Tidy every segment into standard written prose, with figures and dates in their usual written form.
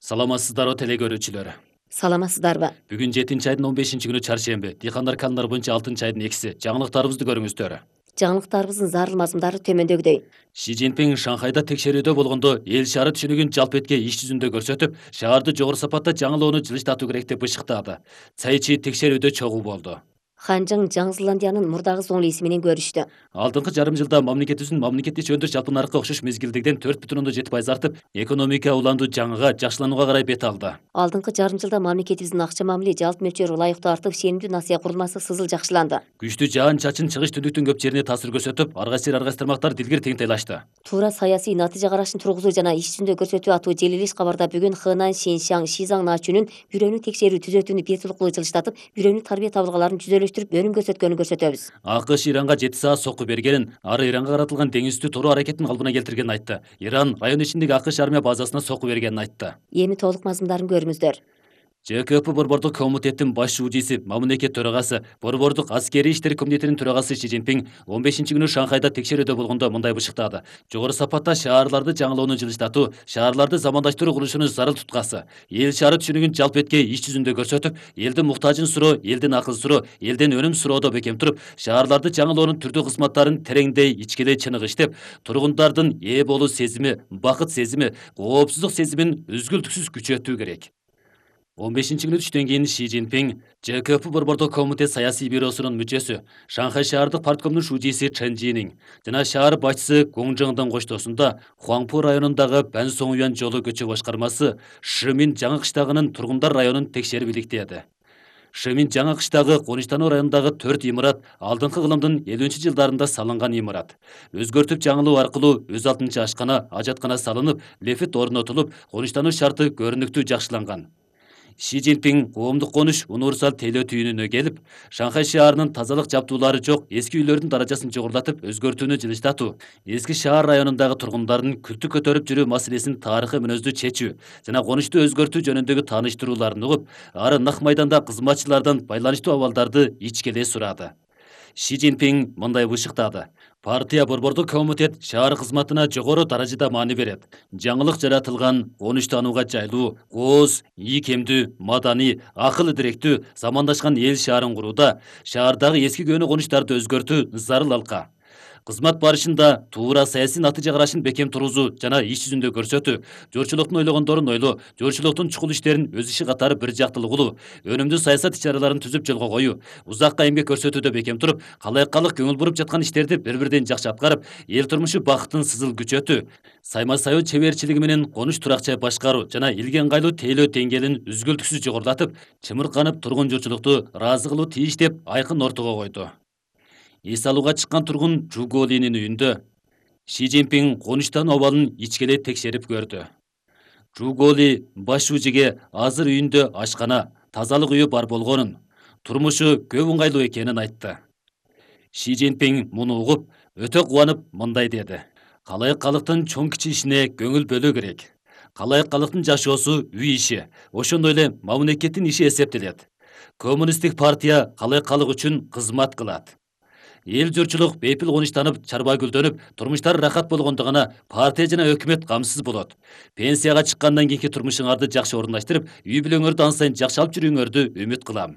Саламатсыздарбы теле көрүүчүлөр. Саламатсыздарбы? Бүгүн 7 айдын 15-күнү чаршемби. Дыйкандар календар боюнча 6 айдын 2-си. Жаңылыктарыбызды көрүңүздөр. Жаңылыктарыбыздын зарыл мазмундары төмөндөгүдөй. Си Цзиньпин Шанхайда текшерүүдө болгондо эл шаары түшүнүгүн жалпы этке иш жүзүндө көрсөтүп, шаарды жогору сапатта жаңылоону жылыштатуу керек деп бышыктады. Цай Чи текшерүүдө чогуу болду. Ханжың Жаңы Зеландиянын мурдагы зоңлиси менен көрүштү. Алдыңкы жарым жылда мамлекетибиздин мамлекеттик иши жалпы нарыкка окшош мезгилдегиден 4,7% артып, экономика уланду жаңыга, жакшыланууга карай бет алды. Алдыңкы жарым жылда мамлекетибиздин акча мамиле жалпы мөлчөрү ылайыктуу артып, сенимдүү насыя курулмасы сызыл жакшыланды. Күчтүү жаан чачын чыгыш түндүктүн көп жерине таасир көрсөтүп, ар кайсы тармактар дилгир теңтайлашты. Туура саясий натыйжа карашын тургузуу жана иш жүзүндө көрсөтүү аттуу желилиш кабарда бүгүн Хэнань, Шиншаң, Шизаң наачүнүн бирөөнү текшерүү түзөтүүнү бир тулуктуу жылыштатып, бирөөнү тарбия табылгаларын жүзөлөштүрүп, өнүм көрсөткөнүн көрсөтөбүз. АКШ Иранга 7 саат сокку бергенин, ары Иранга каратылган деңиз үстү тору аракетин калпына келтиргенин айтты. Иран район ичиндеги АКШ армия базасына сокку бергенин айтты. Эми толук мазмундарын көрүңүздөр. ЖКП Борбордук комитеттин баш шуудиси, мамлекет төрагасы, Борбордук аскерий иштер комитетинин төрагасы Си Цзиньпин 15-күнү Шанхайда текшерүүдө болгондо мындай бышыктады. Жогору сапатта шаарларды жаңылоону жылыштатуу, шаарларды замандаштыруу курулушуну зарыл туткасы, эл шаары түшүнүгүн жалпы этке иш жүзүндө көрсөтүп, элдин муктажын суроо, элдин акыл суроо, элдин өнүм суроодо бекем туруп, шаарларды жаңылоонун түрдүү кызматтарын тереңдей, ичкелей чыныгы иштеп, тургундардын ээ болуу сезими, бакыт сезими, коопсуздук сезимин үзгүлтүксүз күчөтүү керек. 15-күнү түштөн кийин Си Цзиньпин ЖКП Борбордук комитет саясий бюросунун мүчөсү, Шанхай шаардык парткомдун шуудиси Чен Жинин жана шаар башчысы Гong Жыңдын коштоосунда Хуаңпу районундагы Бан Соңюан жолу көчө башкармасы Шимин жаңы кыштагынын тургундар районун текшерип иликтеди. Шимин жаңы кыштагы Конуштануу районундагы 4 имарат алдыңкы кылымдын 50-жылдарында салынган имарат. Өзгөртүп жаңылоо аркылуу өз алдынча ашкана, ажаткана салынып, лефит орнотулуп, Конуштануу шарты көрүнүктүү жакшыланган. Си Цзиньпин коомдук конуш универсал тейлөө түйүнүнө келип, Шанхай шаарынын тазалык жабдуулары жок эски үйлөрдүн даражасын жогорулатып, өзгөртүүнү жылыштатуу, эски шаар районундагы тургундардын күлтү көтөрүп жүрүү маселесин тарыхый мүнөздүү чечүү жана конушту өзгөртүү жөнүндөгү тааныштырууларын угуп, ары нак майданда кызматчылардан байланыштуу абалдарды ичкеле сурады. Си Цзиньпин мындай бышыктады. Партия Борбордук комитет шаар кызматына жогору даражада маани берет. Жаңылык жаратылган, конуштанууга жайлуу, кооз, ийкемдүү, маданий, акыл идиректүү, замандашкан эл шаарын курууда шаардагы эски көөнү конуштарды өзгөртүү зарыл алка. Кызмат барышында туура саясий натыйжа карашын бекем тургузуу жана иш жүзүндө көрсөтүү, журчулуктун ойлогондорун ойлоо, журчулуктун чукул иштерин өз иши катары бир жактылуу кылуу, өнүмдүү саясат иш-чараларын түзүп жолго коюу, узакка эмгек көрсөтүүдө бекем туруп, калайыккалык көңүл буруп жаткан иштерди бири-бирден жакшы аткарып, эл турмушу бакытын сызыл күчөтүү, сайма-саяоо чеберчилиги менен конуш туракча башкаруу жана элге ыңгайлуу тейлөө деңгээлин үзгүлтүксүз жогорулатып, чымырканып тургун журчулукту ыраазы кылуу тийиш деп айкын ортого койду. Эс алууга чыккан тургун Жуголинин үйүндө Си Цзиньпин конуштануу абалын ичкелей текшерип көрдү. Жуголи баш шуудиге азыр үйүндө ашкана, тазалык үйү бар болгонун, турмушу көп ыңгайлуу экенин айтты. Си Цзиньпин муну угуп, өтө кубанып мындай деди. Калайыккалыктын чоң кичи ишине көңүл бөлүү керек. Калайыккалыктын жашоосу үй иши, ошондой эле мамлекеттин иши эсептелет. Коммунисттик партия калайыккалык үчүн кызмат кылат. Эл журчулук бейпил конуштанып, чарба гүлдөнүп, турмуштары рахат болгондо гана партия жана өкмөт камсыз болот. Пенсияга чыккандан кийинки турмушуңарды жакшы орундаштырып, үй бүлөңөрдү ан сайын жакшы алып жүрүүңөрдү үмүт кылам.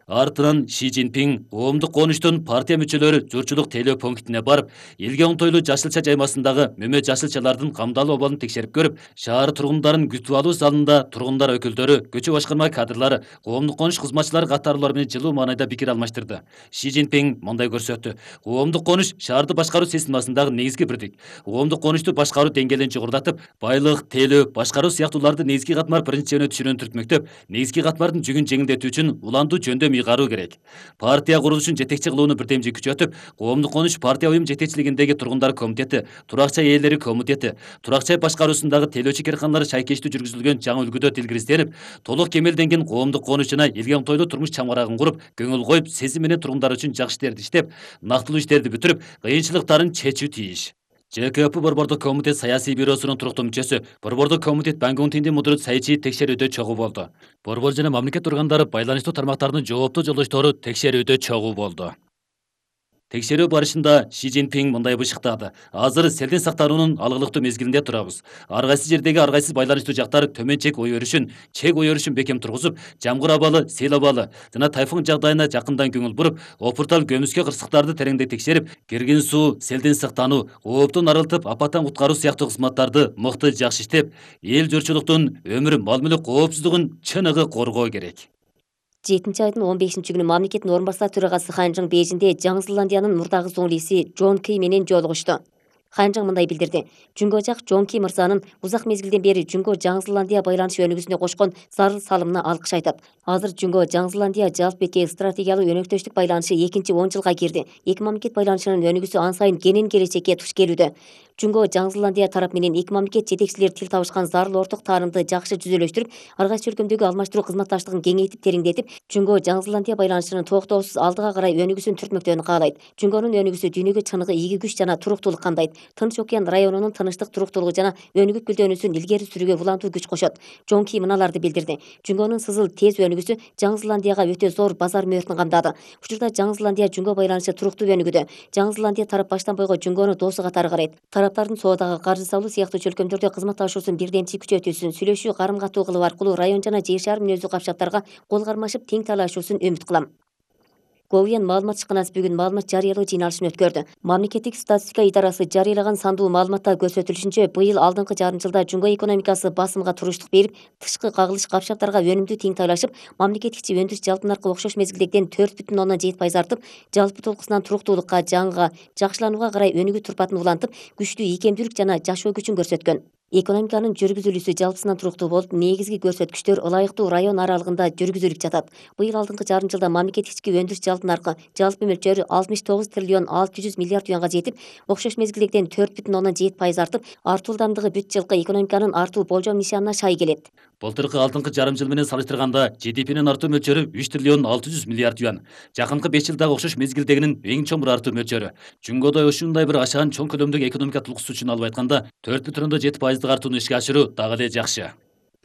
Артынан Си Цзиньпин коомдук конуштун партия мүчөлөрү журчулук тейлөө пунктине барып, элге оңтойлуу жашылча жаймасындагы мөмө жашылчалардын камдалуу абалын текшерип көрүп, шаар тургундарын күтүп алуу залында тургундар өкүлдөрү, көчө башкарма кадрлары, коомдук конуш кызматчылары катарлуулар менен жылуу маанайда пикир алмаштырды. Си Цзиньпин мындай көрсөттү. Коомдук конуш шаарды башкаруу системасындагы негизги бирдик. Коомдук конушту башкаруу деңгээлин жогорулатып, байлык, тейлөө, башкаруу сыяктууларды негизги катмар принцибине түшүнүүнү түртмөктөп, негизги катмардын жүгүн жеңилдетүү үчүн уланду жөндөм ыйгаруу керек. Партия курулушун жетекчи кылууну бирдемжи күчөтүп, коомдук конуш партия уюм жетекчилигиндеги тургундар комитети, туракча ээлери комитети, туракча башкаруусундагы тейлөөчү керканалары шайкештүү жүргүзүлгөн жаңы үлгүдө тилгиризделип, толук кемелденген коомдук конуш жана элге оңтойлуу турмуш чаңырагын куруп, көңүл коюп, сезим менен тургундар үчүн жакшы иштерди иштеп, нактылуу иштерди бүтүрүп, кыйынчылыктарын чечүү тийиш. ЖКП Борбордук комитет саясий бюросунун туруктуу мүчөсү, Борбордук комитет Бангунтиндин мудурут Цай Чи текшерүүдө чогуу болду. Борбор жана мамлекет органдары байланыштуу тармактардын жооптуу жолдоштору текшерүүдө чогуу болду. Текшерүү барышында Ши Цзиньпин мындай бышыктады. Азыр селдин сактануунун алгылыктуу мезгилинде турабыз. Ар кайсы жердеги ар кайсы байланыштуу жактар төмөн чек ой өрүшүн бекем тургузуп, жамгыр абалы, сел абалы жана тайфун жагдайына жакындан көңүл буруп, опуртал көмүскө кырсыктарды тереңдей текшерип, киргин суу, селдин сактануу, ооптон арылтып, апаттан куткаруу сыяктуу кызматтарды мыкты жакшы иштеп, эл журтчулуктун өмүр, мал мүлк коопсуздугун чыныгы коргоо керек. 7 айдын 15-күнү мамлекеттин орун басар төрагасы Ханжың Бейжинде Жаңы Зеландиянын мурдагы зоңлиси Джон Ки менен жолугушту. Ханжың мындай билдирди. Жунго жак Джон Ки мырзанын узак мезгилден бери Жунго Жаңы Зеландия байланыш өнүгүүсүнө кошкон зарыл салымына алкыш айтат. Азыр Жунго Жаңы Зеландия жалпы беки стратегиялык өнөктөштүк байланышы 2-10 жылга кирди. Эки мамлекет байланышынын өнүгүүсү ан сайын кенен келечекке туш келүүдө. Жунго Жаңы Зеландия тарап менен эки мамлекет жетекчилери тил табышкан зарыл орток таарымды жакшы жүзөлөштүрүп, ар кайсы өлкөмдөгү алмаштыруу кызматташтыгын кеңейтип тереңдетип, Жунго Жаңы Зеландия байланышынын токтоосуз алдыга карай өнүгүүсүн түртмөктөрүн каалайт. Жунгонун өнүгүүсү дүйнөгө чыныгы ийги күч жана туруктуулук кандайт. Тынч океан районунун тынычтык, туруктуулугу жана өнүгүп гүлдөнүүсүн илгери сүрүүгө улантуу күч кошот. Джон Ки мыналарды билдирди. Жунгонун сызыл тез өнүгүүсү Жаңы Зеландияга өтө зор базар мөөрүтүн камдады. Учурда Жаңы Зеландия Жунго байланышы туруктуу өнүгүүдө. Жаңы Зеландия тарап баштан бойго Жунгону досу катары карайт. Тараптардын соодагы, каржы салуу сыяктуу чөлкөмдөрдө кызматташуусун бирдемчи күчөтүүсүн, сүйлөшүү, карым катуу кылуу аркылуу район жана жер шаар мүнөздүү капчактарга кол кармашып тең талашуусун үмүт кылам. Говен маалымат ишканасы бүгүн маалымат жарыялоо жыйналышын өткөрдү. Мамлекеттик статистика идарасы жарыялаган сандуу маалыматта көрсөтүлүшүнчө, быйыл алдыңкы жарым жылда Жунго экономикасы басымга туруштук берип, тышкы кагылыш капчактарга өнүмдүү тең тайлашып, мамлекет ичи өндүрүш жалпы наркы окшош мезгилдегиден 4,7% артып, жалпы толкусунан туруктуулукка, жаңыга, жакшыланууга карай өнүгүү турпатын улантып, күчтүү ийкемдүүлүк жана жашоо күчүн көрсөткөн. Экономиканын жүргүзүлүүсү жалпысынан туруктуу болуп, негизги көрсөткүчтөр ылайыктуу район аралыгында жүргүзүлүп жатат. Быйыл алдыңкы жарым жылда мамлекет ички өндүрүш жалпы наркы жалпы мөлчөрү 69 триллион 600 миллиард юанга жетип, окшош мезгилдегиден 4,7% артып, артуу ылдамдыгы бүт жылкы экономиканын артуу болжом нишанына шай келет. Былтыркы алдыңкы жарым жыл менен салыштырганда GDP'нин артуу мөлчөрү 3 триллион 600 миллиард юан. Жакынкы 5 жылдагы окшош мезгилдегинин эң чоң артуу мөлчөрү. Жунгодо ушундай бир ашаан чоң көлөмдөгү экономика толкусу үчүн алып айтканда 4,7% артууну ишке ашыруу дагы эле жакшы.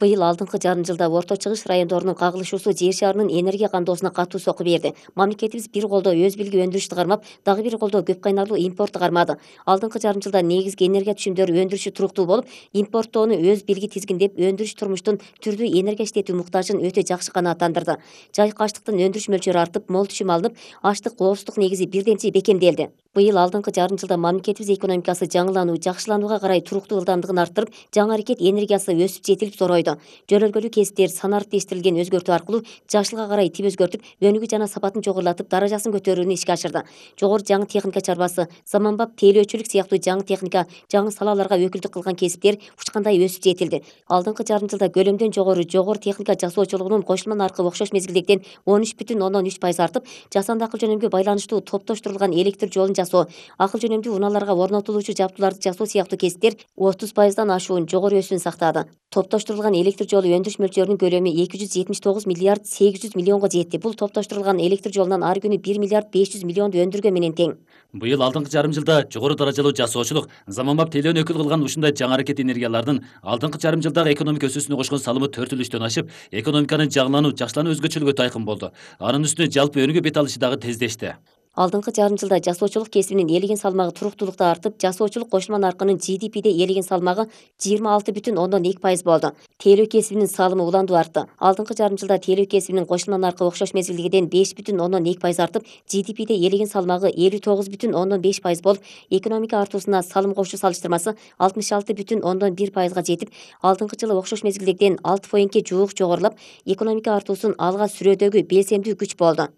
Быйыл алдыңкы жарым жылда Орто Чыгыш райондорунун кагылышуусу жер шаарынын энергия кандоосуна катуу сокку берди. Мамлекетибиз бир колдо өз билги өндүрүштү кармап, дагы бир колдо көп кайнарлуу импортту кармады. Алдыңкы жарым жылда негизги энергия түшүмдөрү өндүрүшү туруктуу болуп, импорттоону өз билги тизгиндеп, өндүрүш турмуштун түрдүү энергия иштетүү муктажын өтө жакшы канааттандырды. Жайкы аштыктын өндүрүш мөлчөрү артып, мол түшүм алынып, аштык коопсуздук негизи бирденчи бекемделди. Быйыл алдыңкы жарым жылда мамлекетибиз экономикасы жаңылануу, жакшыланууга карай туруктуу ылдамдыгын арттырып, жаңы аракет энергиясы өсүп жетилип зоройду. Жөнөлгөлүү кесиптер санариптештирилген өзгөртүү аркылуу жашылга карай тип өзгөртүп, өнүгүү жана сапатын жогорулатып, даражасын көтөрүүнү ишке ашырды. Жогору жаңы техника чарбасы, заманбап тейлөөчүлүк сыяктуу жаңы техника, жаңы салаларга өкүлдүк кылган кесиптер учкандай өсүп жетилди. Алдыңкы жарым жылда көлөмдөн жогору техника жасоочулугунун кошулма наркы окшош мезгилдегиден 13,3% артып, жасанды акыл жөнөмгө байланыштуу топтоштурулган электр жолун жасоо, акыл жөнөмдүү унааларга орнотулуучу жабдууларды жасоо сыяктуу кесиптер 30%дан ашуун жогору өсүүн сактады. Топтоштурулган электр жолу өндүрүш мөлчөрүнүн көлөмү 279 миллиард 800 миллионго жетти. Бул топтоштурулган электр жолунан ар күнү 1 миллиард 500 миллионду өндүргөн менен тең. Быйыл алдыңкы жарым жылда жогору даражалуу жасоочулук, заманбап тейлөөнү өкүл кылган ушундай жаңы аракет энергиялардын алдыңкы жарым жылдагы экономика өсүүсүнө кошкон салымы 4,3-төн ашып, экономиканын жаңылануу, жакшылануу өзгөчөлүгү тайкын болду. Анын үстүнө жалпы өнүгүү бет алышы дагы тездешти. Алдыңкы жарым жылда жасоочулук кесибинин элеген салмагы туруктуулукта артып, жасоочулук кошулма наркынын GDP'де элеген салмагы 26,2% болду. Тейлөө кесибинин салымы уландуу артты. Алдыңкы жарым жылда тейлөө кесибинин кошулма наркы окшош мезгилдегиден 5,2% артып, GDP'де элеген салмагы 59,5% болуп, экономика артуусуна салым кошуу салыштырмасы 66,1%га жетип, алдыңкы жылы окшош мезгилдегиден 6 поинтке жуук жогорулап, экономика артуусун алга сүрөөдөгү белсемдүү күч болду.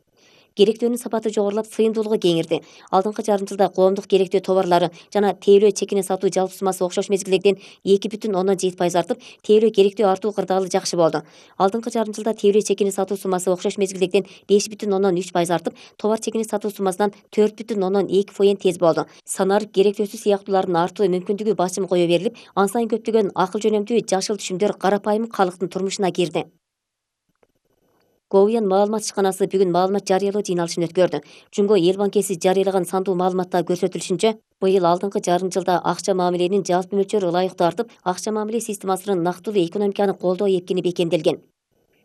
Керектөөнүн сапаты жогорулап, сыйымдуулугу кеңирди. Алдыңкы жарым жылда коомдук керектөө товарлары жана тейлөө чекине сатуу жалпы суммасы окшош мезгилдегиден 2,7% артып, тейлөө керектөө артуу кырдаалы жакшы болду. Алдыңкы жарым жылда тейлөө чекине сатуу суммасы окшош мезгилдегиден 5,3% артып, товар чекине сатуу суммасынан 4,2% тез болду. Санарып керектөөсү сыяктуулардын артуу мүмкүндүгү басым кое берилип, ан сайын көптөгөн акыл жөнөмдүү жашыл түшүмдөр карапайым калктын турмушуна кирди. Говен маалымат ишканасы бүгүн маалымат жарыялоо жыйналышын өткөрдү. Жунго эл банкеси жарыялаган сандуу маалыматта көрсөтүлүшүнчө, быйыл алдыңкы жарым жылда акча мамиленин жалпы мөлчөрү ылайыктуу артып, акча мамиле системасынын нактылуу экономиканы колдоо эркини бекемделген.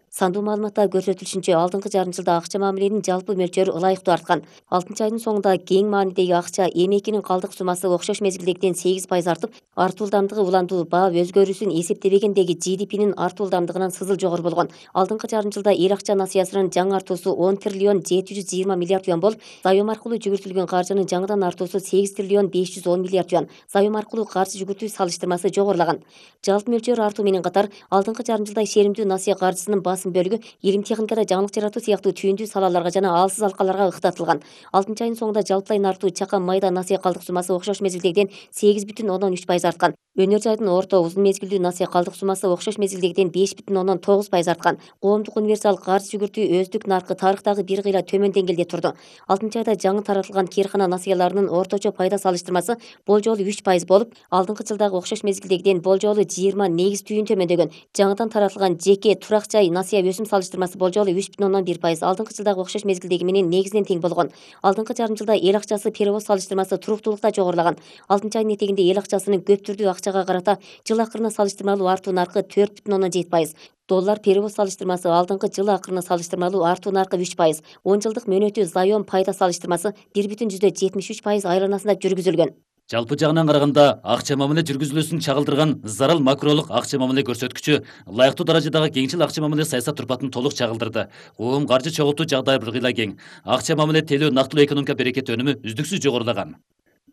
Сандуу маалыматта көрсөтүлүшүнчө, алдыңкы жарым жылда акча мамиленин жалпы мөлчөрү ылайыктуу арткан. 6-айдын соңунда кең маанидеги акча эмекинин калдык суммасы окшош мезгилдегиден 8% артып, артуу ылдамдыгы уландуу баа өзгөрүүсүн эсептебегендеги GDP'нин артуу ылдамдыгынан сызыл жогору болгон. Алдыңкы жарым жылда эл акча насыясынын жаңы артуусу 10 триллион 720 миллиард юан болуп, заем аркылуу жүгүртүлгөн каржынын жаңыдан артуусу 8 триллион 510 миллиард юан. Заем аркылуу каржы жүгүртүү салыштырмасы жогорулаган. Жалпы мөлчөр артуу менен катар, алдыңкы жарым жылда ишеримдүү насыя каржысынын басым бөлүгү илим техникада жаңылык жаратуу сыяктуу түйүндүү салаларга жана алсыз алкаларга ыктатылган. 6-айдын соңунда жалпылайн артуу чакан майда насыя калдык суммасы окшош мезгилдегиден 8,3% арткан. Өнөр жайдын орто узун мезгилдүү насыя калдык суммасы окшош мезгилдегиден 5,9% арткан. Коомдук универсал каржы жүгүртүү өздүк наркы тарыхтагы бир кыйла төмөн деңгээлде турду. 6-айда жаңы таратылган кээркана насыяларынын орточо пайда салыштырмасы болжолу 3% болуп, алдыңкы жылдагы окшош мезгилдегиден болжолу 20 негиз түйүн төмөндөгөн. Жаңыдан таратылган жеке турак жай насыя өсүм салыштырмасы болжолу 3,1%, алдыңкы жылдагы окшош мезгилдеги менен негизинен тең болгон. Алдыңкы жарым жылда эл акчасы перевоз салыштырмасы туруктуулукта жогорулаган. 6-айдын этегинде эл акчасынын көп түрдүү акчага карата жыл акырына салыштырмалуу артуу наркы 4,7%. Доллар перевоз салыштырмасы алдыңкы жыл акырына салыштырмалуу артуу наркы 3%. 10 жылдык мөөнөтү заем пайда салыштырмасы 1,73% айланасында жүргүзүлгөн. Жалпы жагынан караганда, акча мамиле жүргүзүлүүсүн чагылдырган зарыл макролук акча мамиле көрсөткүчү ылайыктуу даражадагы кеңчил акча мамиле саясат турпатын толук чагылдырды. Коом каржы чогултуу жагдайы бир кыйла кең. Акча мамиле телөө нактылуу экономика берекети өнүмү үздүксүз жогорулаган.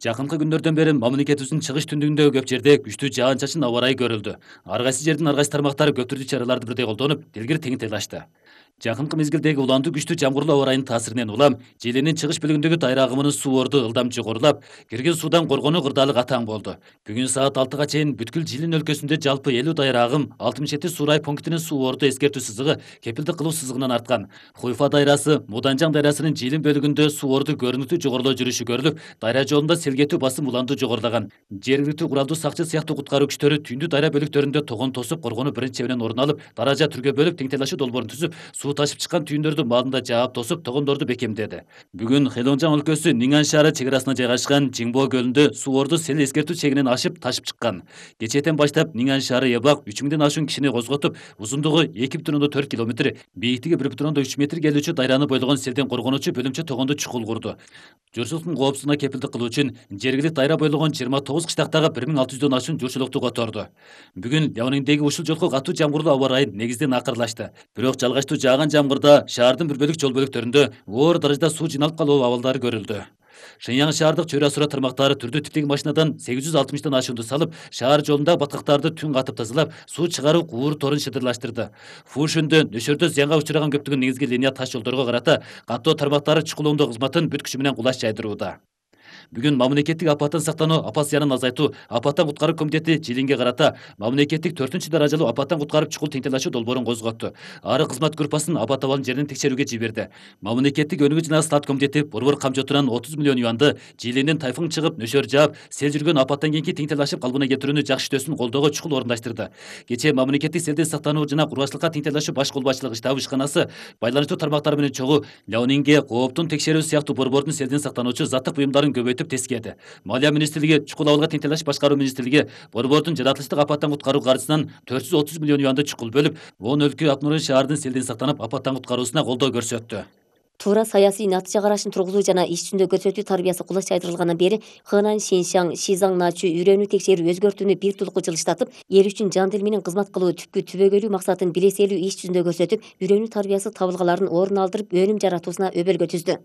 Жакынкы күндөрдөн бери мамлекетибиздин чыгыш түндүгүндөгү көп жерде күчтүү жаан-чачын аба ырайы көрүлдү. Ар кайсы жердин ар кайсы тармактары көп түрдүү чараларды бирдей колдонуп, тилгир тең тыйлашты. Жакынкы мезгилдеги уландуу күчтүү жамгырлуу аба ырайынын таасиринен улам Желенин чыгыш бөлүгүндөгү дайра агымынын суу орду ылдам жогорулап, кирген суудан коргонуу кырдаалы катаң болду. Бүгүн саат 6-га чейин бүткүл Жилин өлкөсүндө жалпы 50 дайра агым 67 суу рай пунктинин суу орду эскертүү сызыгы кепилдик кылуу сызыгынан арткан. Хуйфа дайрасы, Муданжаң дайрасынын Жилин бөлүгүндө суу орду көрүнүктүү жогорулоо жүрүшү көрүлүп, дайра жолунда селгетүү басым уландуу жогорулаган. Жергиликтүү куралдуу сакчы сыяктуу куткаруу күчтөрү түндүү дайра бөлүктөрүндө тогон тосуп, коргонуу биринчи чебинен орун алып, даража түргө бөлүп тең тайлашуу долбоорун түзүп, суу ташып чыккан түйүндөрдү маалында жаап тосуп, тогондорду бекемдеди. Бүгүн Хэлонжаң өлкөсү Ниңан шаары чек арасына жайгашкан Жиңбоо көлүндө суу орду сел эскертүү чегинен ашып ташып чыккан. Кечээден баштап Ниңан шаары Ябак 3000ден ашуун кишини козготуп, узундугу 2,4 километр, бийиктиги 1,3 метр келүүчү дайраны бойлогон селден коргонуучу бөлүмчө тогонду чукул курду. Журчулуктун коопсуздугуна кепилдик кылуу үчүн жергиликтүү дайра бойлогон 29 кыштактагы 1600дөн ашуун журчулукту которду. Бүгүн Ляониңдеги ушул жолку катуу жамгырлуу аба ырайы негизден акырлашты. Бирок жалгачтуу жааган жамгырда шаардын бир бөлүк жол бөлүктөрүндө оор даражада суу жиналып калуу абалдары көрүлдү. Шыньяң шаардык чөйрө асура тармактары түрдүү типтеги машинадан 860 ашуунду салып, шаар жолундагы баткактарды түн катып тазалап, суу чыгаруу уур торун шыдырлаштырды. Фушүндө нөшөрдө зыянга учураган көптөгөн негизги линия таш жолдорго карата каттоо тармактары чукулоондоо кызматын бүт күчү менен кулаш жайдырууда. Бүгүн мамлекеттик апаттан сактануу, апат зыянын азайтуу, апаттан куткаруу комитети Жилинге карата мамлекеттик 4 даражалуу апаттан куткарып чукул тең тайлашуу долбоорун козготту. Ары кызмат группасын апат абалын жеринен текшерүүгө жиберди. Мамлекеттик өнүгүү жана слат комитети борбор камчотунан 30 миллион юанды Жилинден тайфун чыгып, нөшөр жаап, сел жүргөн апаттан кийинки тең тайлашып калыбына келтирүүнү жакшы иштөөсүн колдоого чукул орундаштырды. Кечээ мамлекеттик селден сактануу жана кургачылыкка тең тайлашуу баш колбасчылык штабы ишканасы байланыштуу тармактар менен чогуу Ляонинге кооптун текшерүү сыяктуу борбордун селден сактануучу заттык буюмдарын көбөйтүп тескеди. Малия министрлиги, чукул абалга тең тайлаш башкаруу министрлиги борбордун жаратылыштык апаттан куткаруу каржысынан 430 миллион юанды чукул бөлүп, 10 өлкө Акнурун шаардын селден сактанып апаттан куткаруусуна колдоо көрсөттү. Туура саясий натыйжа карашын тургузуу жана иш жүзүндө көрсөтүү тарбиясы кулаш жайдырылгандан бери Хэнань, Синьсяң, Шизаң начу үйрөнүү текшерүү өзгөртүүнү бир тулуку жылыштатып, эл үчүн жан дил менен кызмат кылуу түпкү түбөгөйлүү максатын билеселүү иш жүзүндө көрсөтүп, үйрөнүү тарбиясы табылгаларын орун алдырып, өнүм жаратуусуна өбөлгө түздү.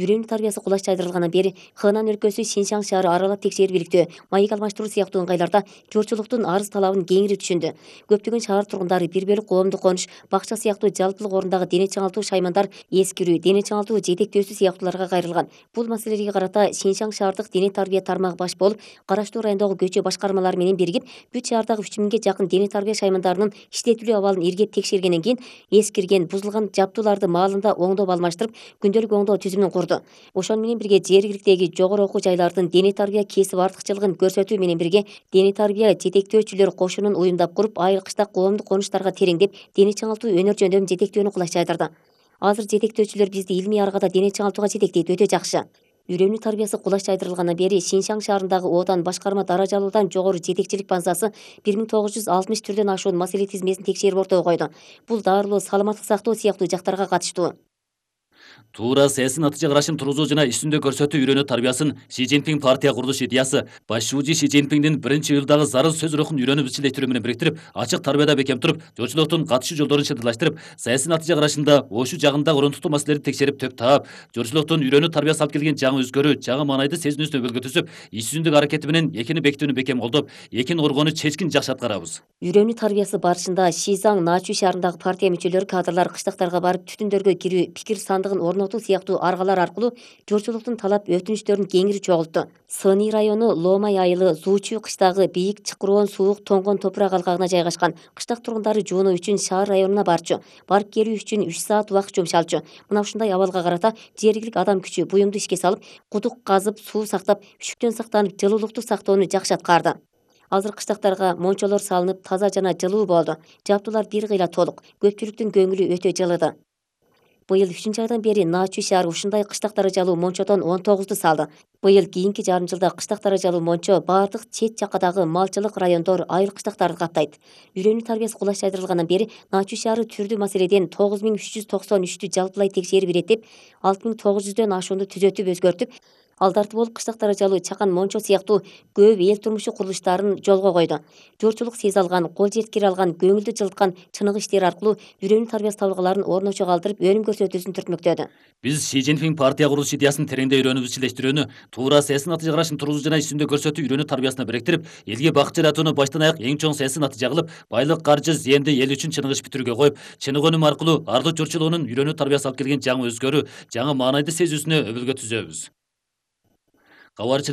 Үйрөнүү тарбиясы кулаш жайдырылгандан бери Хэнань өлкөсү Синьсяң шаары аралап текшерип иликтөө, маек алмаштыруу сыяктуу ыңгайларда журчулуктун арыз талабын кеңири түшүндү. Көптөгөн шаар тургундары бир бөлүк коомдук конуш, бакча сыяктуу жалпылык орундагы дене чыңалтуу шаймандар, эскирүү, дене чыңалтуу жетектөөсү сыяктууларга кайрылган. Бул маселелерге карата Синьсяң шаардык дене тарбия тармагы баш болуп, караштуу райондогу көчө башкармалары менен биригип, бүт шаардагы 3000ге жакын дене тарбия шаймандарынын иштетилүү абалын иргеп текшергенден кийин, эскирген, бузулган жабдууларды маалында оңдоп алмаштырып, күндөлүк оңдоо түзүмүн курду. Ошону менен бирге жергиликтеги жогору окуу жайлардын дене тарбия кесип артыкчылыгын көрсөтүү менен бирге дене тарбия жетектөөчүлөр кошунун уюмдап куруп, айыл-кышта коомдук конуштарга тереңдеп, дене чыңалтуу өнөр жөндөмүн жетектөөнү кулаш жайдырды. Азыр жетектөөчүлөр бизди илмий аргада дене чыңалтууга жетектейт, өтө жакшы. Үйрөнүү тарбиясы кулаш жайдырылгандан бери Шинжаң шаарындагы Одан башкарма даражалуудан жогору жетекчилик базасы 1960 түрдөн ашуун маселе тизмесин текшерип ортого койду. Бул дарылоо, саламаттык сактоо сыяктуу жактарга катыштуу. Туура саясий натыйжа карашын тургузуу жана ишүндө көрсөтүү үйрөнүү тарбиясын Си Цзиньпин партия курулуш идеясы башчы Си Цзиньпиндин 1-июлдагы зарыл сөз рухун үйрөнүп изчилештирүү менен бириктирип, ачык тарбияда бекем туруп, журчулуктун катышуу жолдорун шырдырлаштырып, саясий натыйжа карашында ошол жагында орунтуктуу маселелерди текшерип төп таап, журчулуктун үйрөнүү тарбиясы алып келген жаңы өзгөрүү, жаңы маанайды сезинүүсүнө өбөлгө түзүп, иш жүзүндүк аракети менен экини бекитүүнү бекем колдоп, экини коргоону чечкин жакшы аткарабыз. Үйрөнүү тарбиясы барышында Шизаң Начу шаарындагы партия мүчөлөрү кадрлар кыштактарга барып түтүндөргө кирүү, пикир сандыгын орнотуу сыяктуу аргалар аркылуу журчулуктун талап өтүнүчтөрүн кеңири чогултту. Сыны району Ломай айылы Зуучу кыштагы бийик чыкыроон суук тоңгон топурак алкагына жайгашкан. Кыштак тургундары жуунуу үчүн шаар районуна барчу. Барып келүү үчүн 3 саат убакыт жумшалчу. Мына ушундай абалга карата жергилик адам күчү буюмду ишке салып, кудук казып, суу сактап, үшүктөн сактанып, жылуулукту сактоону жакшы аткарды. Азыр кыштактарга мончолор салынып, таза жана жылуу болду. Жабдуулар бир кыйла толук. Көпчүлүктүн көңүлү өтө жылыды. Быйыл 3-айдан бери Начу шаары ушундай кыштак даражалуу мончодон 19ду салды. Быйыл кийинки жарым жылда кыштак даражалуу мончо бардык чет жакадагы малчылык райондор, айыл кыштактарды каптайт. Үйрөнүү тарбиясы кулаш жайдырылгандан бери Начу шаары түрдүү маселеден 9393 жалпылай текшерип иреттеп, 6900дөн ашуунду түзөтүп өзгөртүп, алдарты болуп кыштак даражалуу чакан мончо сыяктуу көп эл турмушу курулуштарын жолго койду. Журчулук сезе алган, кол жеткире алган, көңүлдү жылыткан чыныгы иштери аркылуу үйрөнүү тарбиясы табылгаларын орночо калтырып, өнүм көрсөтүүсүн түртмөктөдү. Биз Си Цзиньпин партия курулуш идеясын тереңдей үйрөнүп изчилештирүүнү, туура саясий натыйжа карашын тургузуу жана ишүндө көрсөтүү үйрөнүү тарбиясына бириктирип, элге бакыт жаратууну баштан аяк эң чоң саясий натыйжа кылып, байлык, каржы, зыянды эл үчүн чыныгы иш бүтүрүүгө коюп, чыныгы өнүм аркылуу ардуу журчулугунун үйрөнүү тарбиясы алып келген жаңы өзгөрүү, жаңы маанайды сезүүсүнө өбөлгө түзөбүз. Кабарчынын